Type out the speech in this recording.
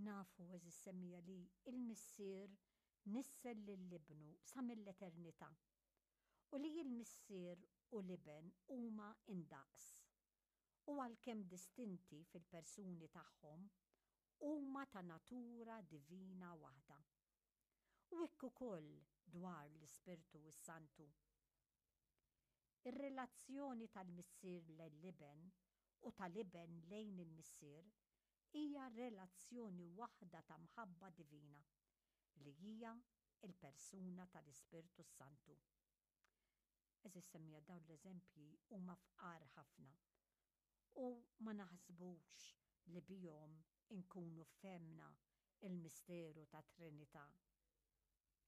Nafu, għeżież semmiegħa, li l-Missier nissel lil Ibnu sa mill-eternità u li l-Missier u l-Iben huma indaqs u għalkemm distinti fil-persuni tagħhom, huma ta' natura divina waħda. U hekk ukoll dwar l-Ispirtu s-Santu. Ir-relazzjoni tal-Missier lejn l-Iben u tal-Iben lejn il-Missier hija relazzjoni waħda ta' mħabba divina, li hija l-persuna tal-Ispirtu s-Santu. Għeżież semmiegħa dawn l-eżempji huma fqar ħafna u ma naħsbux li bihom inkunu fehmna l-misteru tat-Trinità.